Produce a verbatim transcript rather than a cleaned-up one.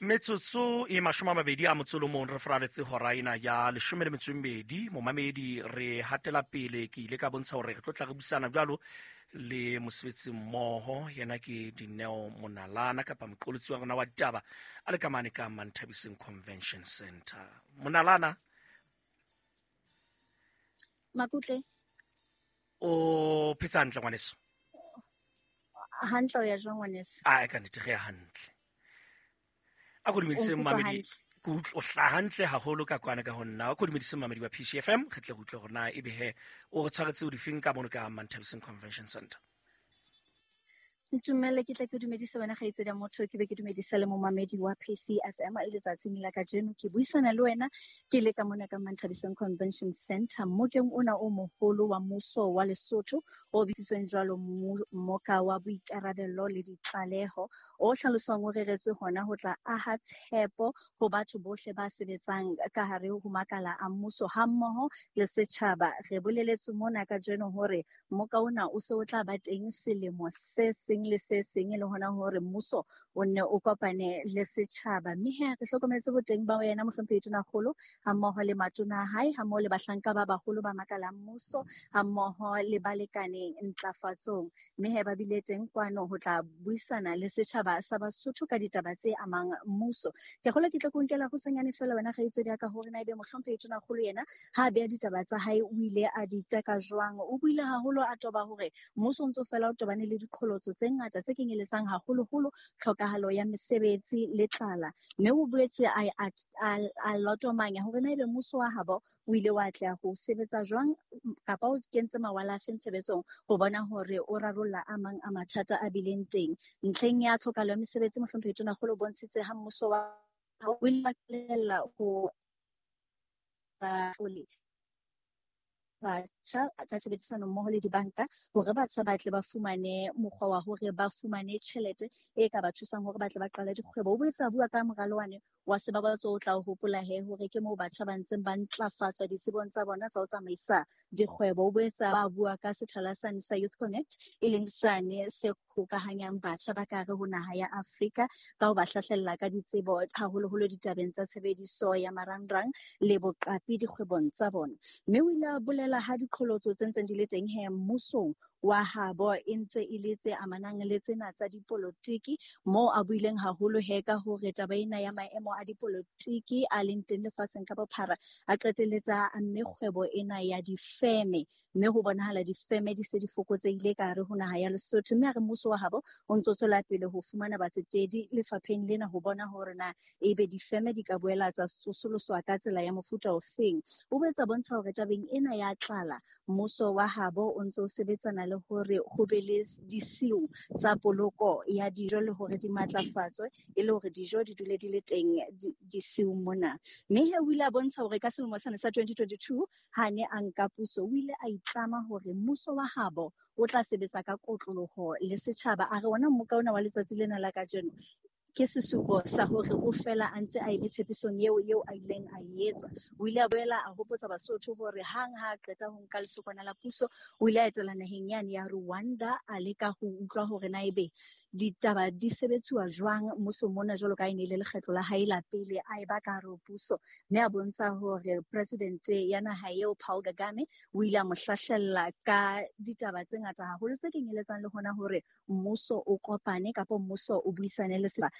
Metsotso e mashome a mabedi a motso o mong re faraletse hora ena ya leshome le metso e mmedi. Momamedi, re hatela pele. Ke ile ka bontsha hore re tlo tla re buisana jwalo le mosebetsi mmoho, yena ke Dineo Monalana kapa moqolotsi wa rona wa ditaba a le ka mane ka Manthabiseng Convention Center. Monalana. Makutle. O phetse hantle, ngwaneso? Hantle, o ya jwang, ngwaneso? A ka nnete re ya hantle. A ko dumedise O nkutlwa momamedi. hantle? Ke utlwa o hlaha hantle haholo ka kwana ka ho nna. A ko dumedise momamedi wa P C F M, re tle re utlwe hore na ebe he o re tshwaretse o difeng ka mono ka Manthabiseng Convention Center. Ntumelle ke tle ke dumedise wena, kgaitsedi ya motho, ke be ke dumedise le momamedi wa P C F M letsatsing la kajeno. Ke buisana le wena ke le ka mona ka Manthabiseng Convention Center, mmokeng ona o moholo wa mmuso wa Lesotho o bitsitsweng jwalo Mmoka wa Boikarabello le Ditlaleho, o hlaloswang o reretswe hona ho tla aha tshepo ho batho bohle ba sebetsang ka hare ho makala a mmuso hammoho le setjhaba. Re boleletswe mona kajeno hore mmoka ona o se o tla ba teng selemo se seng le se seng, e le hona hore mmuso o nne o kopane le setjhaba. Mme he re hlokometse boteng ba yena mohlomphehi Tonakgolo hammoho le matona a hae, hammoho le bahlanka ba baholo ba makala a mmuso, hammoho le balekane ntlafatsong. Mme he ba bile teng kwano ho tla buisana le setjhaba sa Basotho ka ditaba tse amang mmuso. Ke kgolwa ke tla ko nkela kgutshwanyane feela, wena kgaitsedi ya ka, hore na ebe mohlomphehi Tonakgolo yena ha a beha ditaba tsa hae o ile a di teka jwang. O buile haholo a toba hore mmuso o ntso fela o tobane le diqholotso tse ngata tse kenyeletsang haholoholo tlhokahalo ya mesebetsi le tlala, mme o boetse a, a, a, a lotomanya hore na ebe mmuso wa habo o ile wa atleha ho sebetsa jwang kapa o kentse mawala a feng tshebetsong ho bona hore o rarolla a mang a mathata a bileng teng ntlheng ya tlhokahalo ya mesebetsi. Mohlomphehi Tonakgolo o bontshitse ha mmuso wa o ile wa qalella ho batlole batjha ka tshebedisano mmoho le dibanka hore batjha ba tle ba fumane mokgwa wa hore ba fumane tjhelete e ka ba thusang hore ba tle ba qale dikgwebo. O boetse a bua ka moralo wane wa sebabatso, o tla o hopola he hore ke moo batjha ba ntseng ba ntlafatswa ditsebong tsa bona tsa ho tsamaisa dikgwebo. O boetse ba bua ka sethala sane sa Youth Connect, e leng sane se hokahanyang batjha ba ka hare ho naha ya Afrika ka ho ba hlahlella ka ditsebo, haholoholo ditabeng tsa tshebediso ya marangrang le boqapi dikgwebong tsa bona. Mme o ile a bolela ha diqholotso tse ntseng di le teng he mmusong wa habo e ntse e le tse amanang le tsena tsa dipolotiki, moo a buileng haholo he ka hore taba ena ya maemo a dipolotiki a leng teng lefatsheng ka bophara a qetelletsa a mme kgwebo ena ya difeme, mme ho bonahala difeme di se di fokotsehile ka hare ho naha ya Lesotho. Mme a re mmuso wa habo o ntso tswela pele ho fumana batsetedi lefapheng lena ho bona hore na ebe difeme di ka boela tsa tsosoloswa ka tsela ya mofuta ofeng. O boetse a bontsha hore tabeng ena ya tlala mmuso wa habo o ntso o sebetsana le hore ho be le disiu tsa poloko ya dijo le hore di matlafatswe e le hore dijo di dule di le teng disiung mona. Mme he o ile a bontsha hore ka selemo sane sa twenty twenty-two ha ne a nka puso, o ile a itlama hore mmuso wa habo o tla sebetsa ka kotloloho le setjhaba. A re ona mmoka ona wa letsatsi lena la kajeno ke sesupo sa hore o fela a ntse a eme tshepisong eo eo a ileng a e etsa. O ile a boela a hopotsa Basotho hore hang ha a qeta ho nka lesokwana la puso, o ile a etela naheng yane ya Rwanda, a leka ho utlwa hore na ebe ditaba di sebetsuwa jwang mmusong mona, jwalo ka e ne e le lekgetlo la hae la pele a e ba ka hare ho puso. Mme a bontsha hore presidente ya naha eo, Paul Kagame, o ile a mo hlahlella ka ditaba tse ngata haholo tse kenyeletsang le hona hore mmuso o kopane kapa mmuso o buisane le setjhaba.